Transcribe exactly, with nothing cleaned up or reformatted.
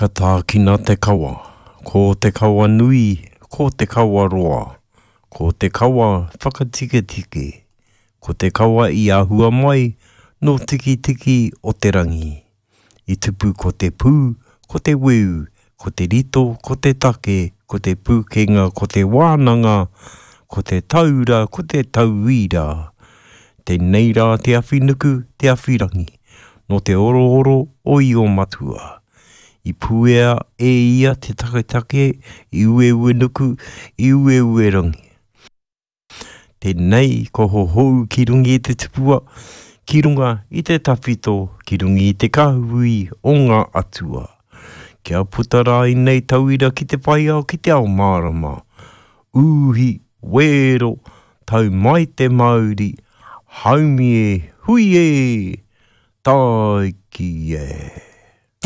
Ka tākina te kawa, ko te kawa nui, ko te kawa roa, ko te kawa whakatiketike, ko te kawa i ahua mai nō Tikitiki o te rangi. I tupu ko te pū, ko te weu, ko te rito, ko te take, ko te pūkenga, ko te wānanga, ko te taura, ko te tauira. Tēnei rā te awhi nuku, te awhi rangi, nō te orooro o Io Matua. I puea e ia te taketake i Ueuenuku, i Ueuerangi. Tēnei ko hohou ki runga i te tupua, ki runga i te tawhito, ki runga i te kahui o ngā atua. Kia puta rā inei tauira ki te whaiao ki te ao mārama. Uhi, wero, tau mai te mauri, haumi e, hui e, tāiki e.